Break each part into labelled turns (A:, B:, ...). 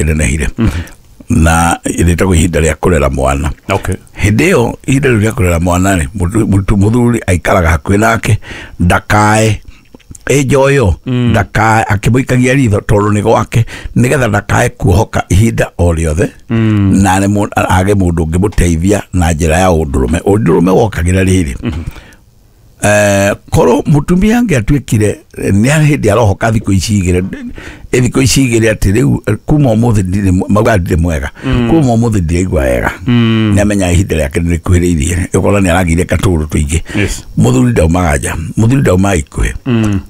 A: rĩkĩnenehire na rĩtagwo ihinda rĩa kũrera mwana.
B: Okay.
A: Hĩndĩ ĩyo ihinda rĩu rĩa kũrera mwana rĩ, mũthuri aikaraga hakuhĩ nake, ndakae ĩnjoyo, ndakae akĩmũikagia ritho tondũ nĩ gwake, nĩgetha ndakae kuohoka ihinda o rĩothe na age mũndũ ũngĩmũteithia na njĩra ya ũndũrũme. Ũndũrũme wokagĩra rĩrĩ, korwo mũtumia angĩatuĩkire nĩ hĩndĩ arohoka thikũ ici igĩrĩ, thikũ ici igĩrĩ atĩ rĩu kuma ũmũthĩ maugaga ndirĩ mwega, kuma ũmũthĩ ndiraigua wega, nĩ amenyaga ihinda rĩake nĩ rĩkuhĩrĩirie, ũkona nĩ aragĩire katũrũ tũingĩ. Mũthuri ndaumaga nja, mũthuri ndaumaga ikuhĩ,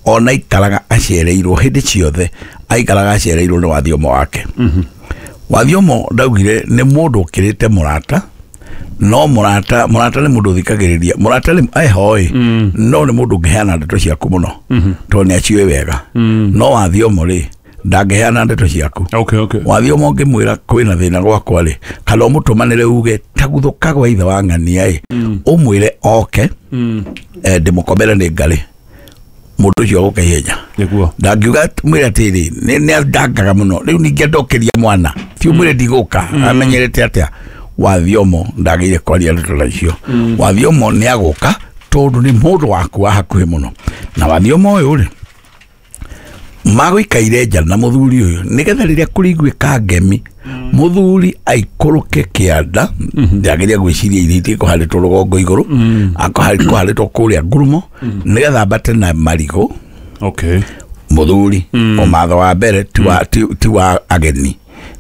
A: ona aikaraga acereirwo hĩndĩ ciothe, aikaraga acereirwo nĩ wathiomo wake. Wathiomo ndaugire nĩ mũndũ ũkĩrĩte mũrata, no mũrata nĩ mũndũ ũthikagĩrĩria, mũrata nĩ ehoi, no nĩ mũndũ ũngĩheana ndeto ciaku mũno tondũ nĩ aciũĩ wega. No wathiomo rĩ, ndangĩheana ndeto ciaku.
B: Okay, okay.
A: Wathiomo ũngĩmwĩra kwĩna thĩna gwakwa rĩ, kana ũmũtũmanĩre uge taguthũka gwa ithe wa ng'ania ĩ, ũmwĩre oke, ndĩmũkomere nĩ ngarĩ, mũndũ ũcio agũka ihenya.
B: Nĩguo.
A: Ndangiuga mwĩre atĩrĩ, nĩ andangaga mũno rĩu ningĩ ndokeria mwana, ti ũmwĩre ndigũka, amenyerete atĩa. Wathiomo ndagĩire kwaria ndeto ta icio. Wathiomo nĩ agũka tondũ nĩ mũndũ waku wa hakuhĩ mũno. Na wathiomo ũyũ rĩ, magũikaire nja na mũthuri ũyũ nĩgetha rĩrĩa kũrĩiguĩka ngemi, mũthuri aikũrũke kĩanda, ndagĩrĩire gwĩciria irio itikũharĩtwo rũgongo igũrũ, akũharĩtwo kũrĩa ngurumo, nĩgetha ambate na marigũ.
B: Okay.
A: Mũthuri ũmatho wa mbere ti wa ageni,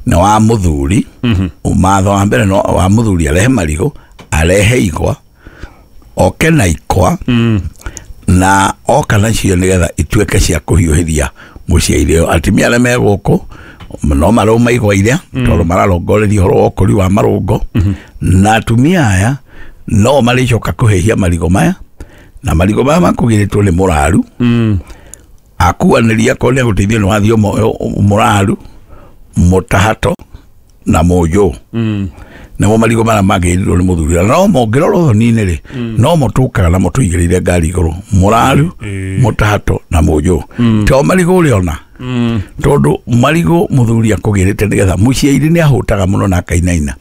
A: nĩ wa mũthuri. Ũmatho wa mbere no wa mũthuri, arehe marigũ, arehe igwa, oke na ikwa, na oka nacio nĩgetha ituĩke cia kũhiũhĩria mũciĩ ũyũ. Atumia arĩa me gũkũ no marauma igwa iria tondũ mararongoreria ũhoro wa ũkũri wa marũngo, na atumia aya no marĩcoka kũhĩhia marigũ maya, na marigũ maya makũgĩrĩtwo nĩ mũraru. Akuanĩria akorwo nĩ agũteithio nĩ wathiomo mũraru, mũtahato na mũnjũ. Nĩmo marigũ marĩa magĩrĩirwo nĩ mũthuri. No mũngĩrora ũthoni-inĩ rĩ, no mũtũkaga na mũtũigĩrĩire ngari igũrũ, mũraru, mũtahato na mũnjũ. To marigũ ũrĩa ona, tondũ marigũ mũthuri akũgĩrĩte nĩgetha mũciairi nĩ ahũtaga mũno na akainaina.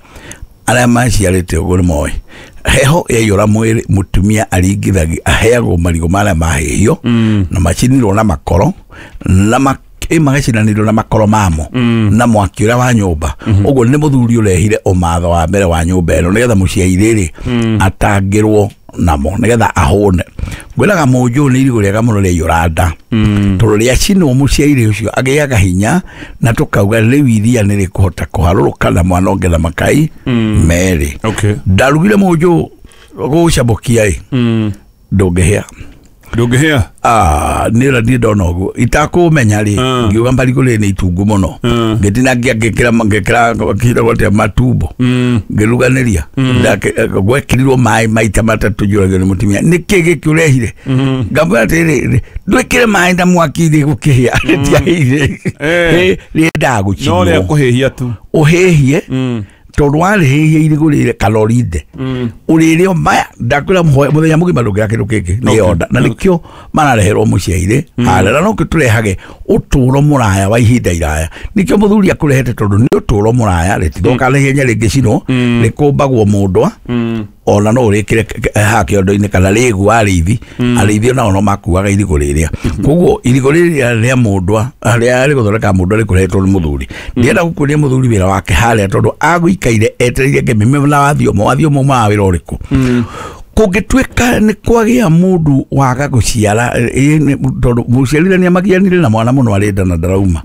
A: Arĩa maciarĩte ũguo nĩ moĩ heho yaiyũra mwĩrĩ, mũtumia aringithagia, aheagwo marigũ marĩa mahĩhio na macinirwo na makoro, na magacinanĩrio na makoro mamo na mwaki ũrĩa wa nyũmba. Ũguo nĩ mũthuri ũrehire ũmatho wa mbere wa nyũmba ĩno nĩgetha mũciairĩ rĩ atangĩrwo namo nĩgetha ahũne. Ngwĩraga mũnjũ nĩ irigũ rĩega mũno rĩaiyũra nda, tondũ rĩacinwo mũciairĩ ũcio agĩaga hinya, na tũkauga rĩu iria nĩ rĩkũhota kũharũrũka na mwana ũngĩ na makai merĩ.
B: Okay.
A: Ndarugire mũnjũ gũcamũkia ĩ, ndũngĩhĩa.
B: Ndũngĩhĩa?
A: Nĩ ũrĩa niĩ ndona ũguo itakũmenya rĩ, ngiuga marigũ rĩ nĩ itungu mũno, ngĩtinangia ngĩkĩra kĩragwo atĩa matumbo, ngĩruganĩria, gwekĩrirwo maĩ maita matatũ njũragio nĩ mũtumia, nĩkĩ gĩkĩ ũrehire? Ngamwĩra atĩrĩrĩ, ndwĩkĩre maĩ na mwaki rĩ gũkĩhĩa, rĩtiahĩire, rĩendaga gũcinwo.
B: No rĩa kũhĩhia tu.
A: Ũhĩhie, tondũ warĩhĩhia irigũ rĩrĩ kana ũrinde, ũrĩrĩo maya, ndakwĩra mũthenya mũgima ndũngĩra kĩndũ kĩngĩ nĩ yonda. Na nĩkĩo marareherwo mũciairĩ harĩa, na nokĩo tũrehage ũtũũro mũraya wa ihinda iraya. Nĩkĩo mũthuri akũrehete tondũ nĩ ũtũũro mũraya, rĩtithũkaga na ihenya rĩngĩcinwo, rĩkũmbagwo mũndwa, ona no ũrĩkĩre haha kĩondo-inĩ kana rĩgu arĩithi, arĩithi onao no makuaga irigũ rĩrĩa. Koguo irigũ rĩrĩa rĩa mũndwa, rĩa rĩgũthondeka mũndwa rĩkũrehetwo nĩ mũthuri. Ndienda gũkuonia mũthuri wĩra wake harĩa tondũ agũikaire etereire ngemi na wathiomo, wathiomo umaga wĩra ũrĩkũ. Kũngĩtuĩka nĩ kwagĩa mũndũ waga gũciara, tondũ mũciarithania magianire na mwana mũno arĩ nda na ndarauma.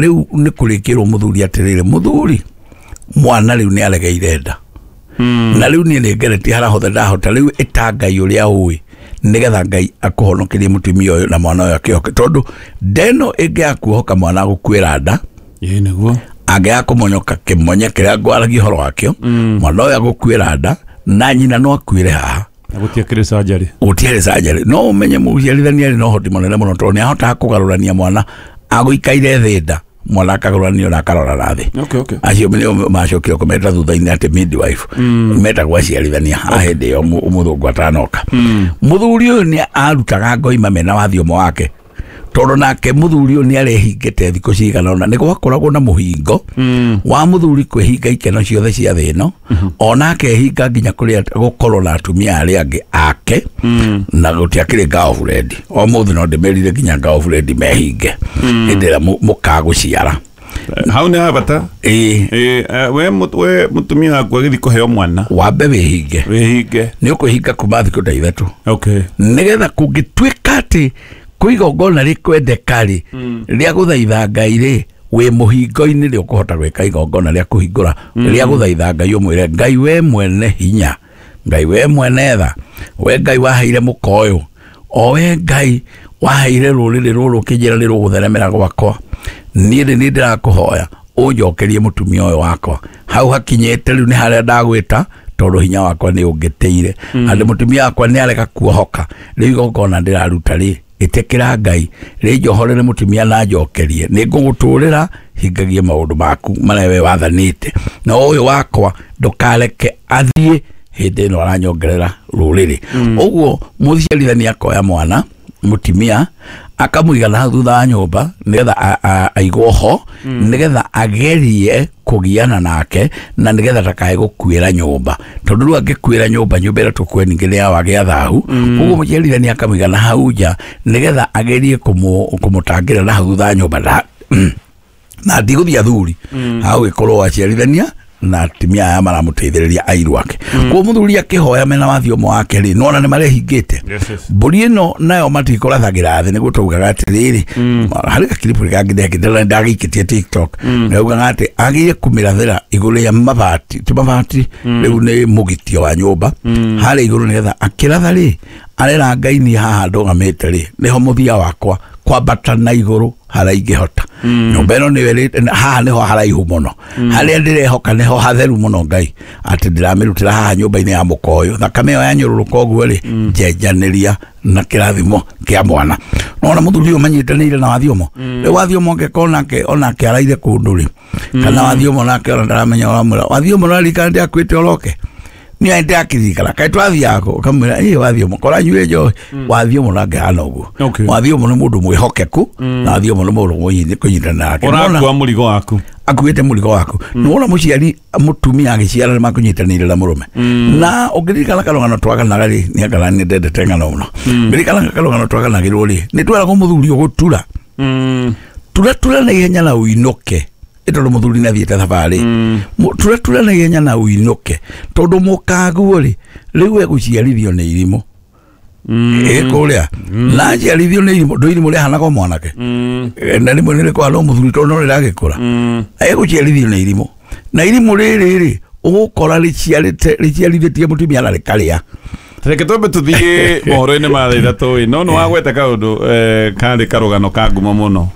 A: Rĩu nĩ kũrĩkĩrwo mũthuri atĩrĩrĩ, mũthuri mwana rĩu nĩ aregeire nda. Na rĩu niĩ nĩ ngeretie harĩa hothe ndahota, rĩu ĩta Ngai ũrĩa ũĩ nĩgetha Ngai akũhonokerie mũtumia ũyũ na mwana ũyũ akĩhoke, tondũ ndeno ĩngĩaga kuohoka mwana agũkuĩra nda,
B: Ĩĩ nĩguo.
A: angĩaga kũmonyoka kĩmonye kĩrĩa ngwaragia ũhoro wakĩo, mwana ũyũ agũkuĩra nda na nyina no akuĩre haha.
B: Na gũtiakĩrĩ surgery.
A: Gũtiarĩ surgery. No ũmenye mũciarithania arĩ na ũhoti mũnene mũno tondũ nĩ ahotaga kũgarũrania mwana agũikaire thĩ nda, mwana akagũranio na akarora na thĩ.
B: Okay, okay.
A: Acio nĩo macokire kũmeta thutha-inĩ atĩ midwife. Metagwo aciarithania a hĩndĩ ĩyo mũthũngũ atanoka. Mũthuri ũyũ nĩ arutaga ngoima mena wathiomo wake. Tondũ nake mũthuri ũyũ nĩ arehingĩte thikũ cigana ũna, nĩ gwakoragwo na mũhingo wa mũthuri kwĩhinga ikeno ciothe cia thĩ ĩno, ona akehinga nginya kũrĩa gũkorwo na atumia arĩa angĩ ake, na gũtiakĩrĩ girlfriend. O mũthĩ no ndĩmerire nginya girlfriend mehinge hĩndĩ ĩrĩa mũkagũciara.
B: Hau nĩ habata.
A: Ĩĩ.
B: We mũtumia waku agĩthiĩ kũheo mwana,
A: wambe wĩhinge.
B: Wĩhinge.
A: Nĩ ũkwĩhinga kuma thikũ ta 3.
B: Okay.
A: Nĩgetha kũngĩtuĩka atĩ kwĩ igongona rĩkwendeka rĩ, rĩa gũthaitha Ngai rĩ, wĩ mũhingo-inĩ rĩ ũkũhota gwĩka igongona rĩa kũhingũra, rĩa gũthaitha Ngai, ũmwĩre Ngai we mwene hinya, Ngai we mwene tha, we Ngai waheire mũka ũyũ, o we Ngai waheire rũrĩrĩ rũrũ ũkĩnjĩra nĩ rũgũtheremera gwakwa, niĩ nĩ niĩ ndĩrakũhoya ũnjokerie mũtumia ũyũ wakwa. Hau hakinyĩte rĩu nĩ harĩa ndagwĩta, tondũ hinya wakwa nĩ ũngĩtĩire. Andũ mũtumia wakwa nĩ arega kuohoka, rĩu igongona ndĩraruta rĩ, ĩtĩkĩra Ngai rĩnjohorere mũtumia na njokerie, nĩ ngũgũtũrĩra hingagie maũndũ maku marĩa we wathanĩte, na ũyũ wakwa ndũkareke athiĩ hĩndĩ ĩno aranyongerera rũrĩrĩ. Ũguo mũciarithania akoya mwana mũtumia akamũiga na thutha wa nyũmba nĩgetha aigwo ho, nĩgetha agerie kũgiana nake, na nĩgetha ndakae gũkuĩra nyũmba, tondũ rĩu angĩkuĩra nyũmba, nyũmba ĩrĩa tũkue ningĩ nĩ yawagĩa thahu. Koguo mũciarithania akamũiga na hau nja nĩgetha agerie kũmũtangĩra na hau thutha wa nyũmba, na ndigũthiĩ athuri hau gĩkorwo aciarithania na atumia aya maramũteithĩrĩria airu ake. Koguo mũthuri akĩhoya mena wathiomo wake rĩ, nĩwona nĩ marehingĩte. Mbũri ĩno nayo matikũrathagĩra thĩ, nĩguo taugaga atĩrĩrĩ, harĩ gakiribu kangĩ ndekĩte ndagĩikĩtie TikTok, ndaugaga atĩ agĩrĩire kũmĩrathĩra igũrũ rĩa mabati, ti mabati rĩu nĩ mũgitio wa nyũmba harĩa igũrũ, nĩgetha akĩratha rĩ, arera Ngai niĩ haha ndũgamĩte rĩ, nĩho mũthia wakwa kwambata na igũrũ harĩa ingĩhota. Nyũmba ĩno nĩyo haha nĩho haraihu mũno, harĩa ndĩrehoka nĩho hatheru mũno Ngai, atĩ ndĩramĩrutĩra haha nyũmba-inĩ ya mũka ũyũ, thakame ĩyo yanyũrũrũka ũguo rĩ, njenjanĩria na kĩrathimo kĩa mwana. Nona mũthuri ũyũ manyitanĩire na wathiomo. Rĩu wathiomo angĩkorwo nake onake araire kũndũ rĩ, kana wathiomo nake ona ndaramenya ũramwĩra wathiomo ũraririkana ndĩakuĩte ũroke, niĩ ndakirikana kaĩ twathiaga kũ, ũkamwĩra ĩ wathiomo kora nyuĩ njohi. Wathiomo ndangĩhana ũguo. Wathiomo nĩ mũndũ mwĩhokeku, na wathiomo nĩ mũndũ kũnyitana nake.
B: Ũrakua mũrigo waku,
A: akuĩte mũrigo waku. Nĩwona mũciari mũtumia agĩciara nĩ makũnyitanĩire na mũrũme. Na ũngĩririkana karũgano twaganaga rĩ, nĩ angana nĩ ndendete ng'ano mũno. Ngĩririkana karũgano twaganagĩrwo rĩ, nĩ tweragwo mũthuri ũgũtura tura tura na ihenya na ũinũke, tondũ mũthuri nĩ athiĩte thabarĩ. Tura tura na ihenya na ũinũke, tondũ mũkaguo rĩ, rĩu egũciarithio nĩ irimũ. Kũrĩa na aciarithio nĩ irimũ, ndũ irimũ rĩahanaga o mwanake, na rĩmwe nĩ rĩkũhana o mũthuri tondũ no rĩragĩkũra. Egũciarithio nĩ irimũ, na irimũ rĩrĩ rĩ, ũgũkora rĩciarithĩtie mũtumia na rĩkarĩa.
B: Reke twambe tuthiĩ mohoro-inĩ ma thaa 3 ĩ, no nĩ wagweta kaũndũ karĩ karũgano ka ngumo mũno.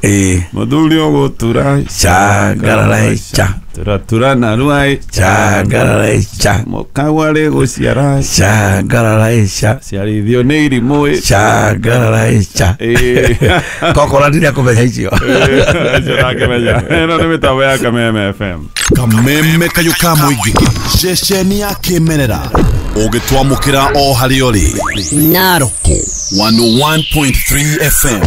B: Mũthuri ũgũtura
A: changarara cha
B: tura tura na ruai
A: changarara cha,
B: mũkagwa rĩ gũciara
A: changarara cha,
B: ciarithio nĩ irimũ
A: changarara cha. Kokora ndirĩa kũmenya icio.
B: Icio ndakĩmenya. Ĩno nĩ mĩtambo ya Kameme FM.
C: Kameme kayũ ka mũingĩ, ceceni ya kĩmerera, ũgĩtwamũkĩra o harĩa ũrĩ.
D: Naroko
C: 101.3 FM.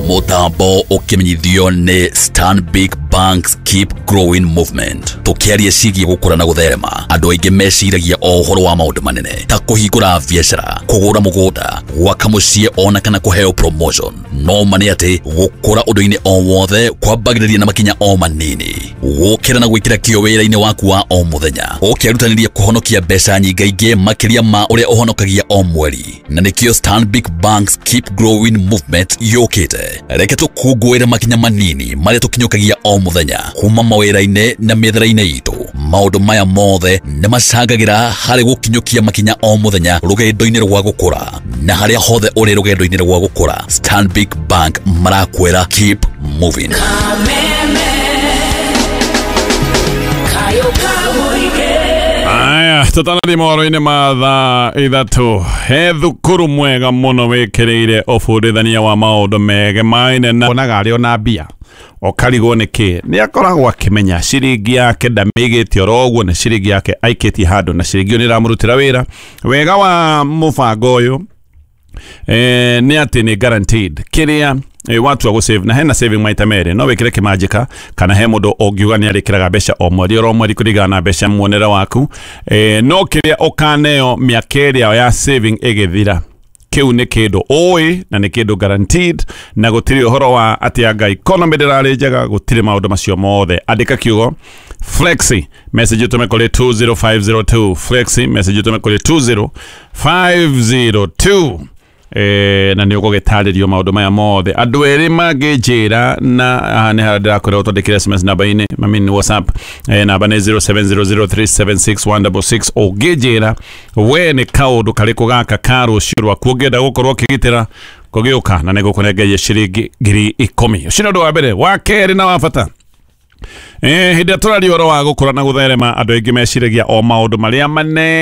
D: Mũtambo ũkĩmenyithio nĩ Stanbic Banks Keep Growing Movement. Tũkĩaria ciĩgiĩ gũkũra na gũtherema, andũ aingĩ meciragia o ũhoro wa maũndũ manene ta kũhingũra biacara, kũgũra mũgũnda, gwaka mũciĩ ona kana kũheo promotion. No ma nĩ atĩ gũkũra ũndũ-inĩ o wothe kwambagĩrĩria na makinya o manini. Gũkĩra na gwĩkĩra kĩyo wĩra-inĩ waku wa o mũthenya, ũkĩrutanĩria kũhonokia mbeca nyingaingĩ makĩria ma ũrĩa ũhonokagia o mweri. Na nĩkĩo Stanbic Banks Keep Growing Movement yũkĩte. Reke tũkũngũĩre makinya manini marĩa tũkinyũkagia o mũthenya kuma mawĩra-inĩ na mĩethere-inĩ itũ. Maũndũ maya mothe nĩ macangagĩra harĩ gũkinyũkia makinya o mũthenya rũgendo-inĩ rwa gũkũra. Na harĩa hothe ũrĩ rũgendo-inĩ rwa gũkũra, Stanbic Bank marakwĩra keep moving.
B: Aya, tũtanathiĩ mohoro-inĩ ma thaa 3. He thukuru mwega mũno wĩkĩrĩire ũbundithania wa maũndũ megemaine na onaga arĩ ona mbia ũkarigwo nĩ kĩ, nĩ akoragwo akĩmenya ciringi yake ndamĩigĩte oro ũguo, nĩ ciringi yake aikĩtie handũ na ciringi ĩyo nĩ ĩramũrutĩra wĩra. Wega wa mũbango ũyũ Nĩ atĩ nĩ guaranteed kĩrĩa watua gũ save na hena saving maita merĩ, no wĩkĩre kĩmanjĩka kana he mũndũ ũngiuga nĩ arĩkĩraga mbeca o mweri oro mweri kũringana na mbeca muonere waku. No kĩrĩa ũkaneo mĩaka ĩrĩa ya saving ĩgĩthira, kĩu nĩ kĩndũ ũĩ na nĩ kĩndũ guaranteed, na gũtirĩ ũhoro wa atĩ anga economy ndĩrarĩ njega, gũtirĩ maũndũ macio mothe. Andĩka kiugo flexi, message ũtũme kũrĩ 20502. Flexi, message ũtũme kũrĩ 20502. Na nä å gå gä tarä rio maå ndå maya mothe. Andå erä mangä njä ra na haha nä harĩa ndĩrakwĩra ũtwandĩkĩre SMS namba-inĩ, I mean WhatsApp, namba nĩ 0700376166. Ũngĩnjĩra we nĩ kaũndũ karĩkũ gaka ka rũciũ rwaku ũngĩenda gũkorwo ũkĩgitĩra kũgĩũka, na nĩ gũkũnengeria ciringi 10,000. Ũcio nĩ ũndũ wa mbere. Wa kerĩ na wa bata, hĩndĩ ĩrĩa tũraria ũhoro wa gũkũra na gũtherema, andũ aingĩ meciragia o maũndũ marĩa manene.